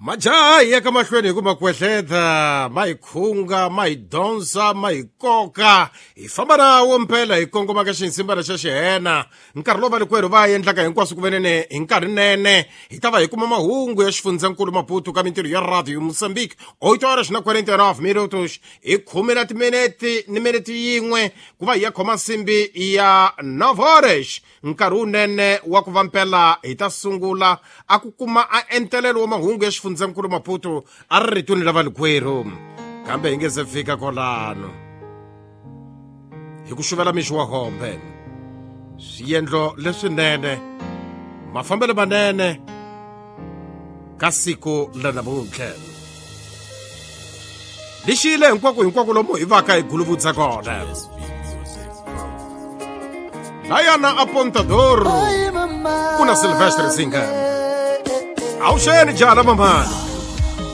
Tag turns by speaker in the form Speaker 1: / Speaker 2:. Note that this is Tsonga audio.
Speaker 1: Majaha hi ya ka mahlweni hi ku makwehleta ma hi khunga, ma hi donsa, ma hi koka, hi famba nawo mpela hi kongoma ka xinsimbana xa xihena. Nkarhi lowu valikwerhu va endlaka hinkwaswo ku venene hi nkarhi nene hi ta va hi kuma mahungu ya xifundzankulu Maputo ka mintirho ya radio Mozambique 8 horas na 49 minutos, hi khume na timinete ni minete yin'we ku va hi ya khoma nsimbi ya 9 horas, nkarhi wunene wa ku va mpela hi ta sungula a ku kuma a entelelo wa mahungu ya xifundzankulu Maputo a ri ritweni la valikwerhu. Kambe hi nge se fika kolano hi ku xuvela mixo wa hombe, swiendlo leswinene, mafambelo manene ka siku la namuntlha lixile hinkwako hinkwako lomu hi vaka hi guluvudza kona. Layana Apontador kuna Silvestre Singa, awuxeni jala mamani.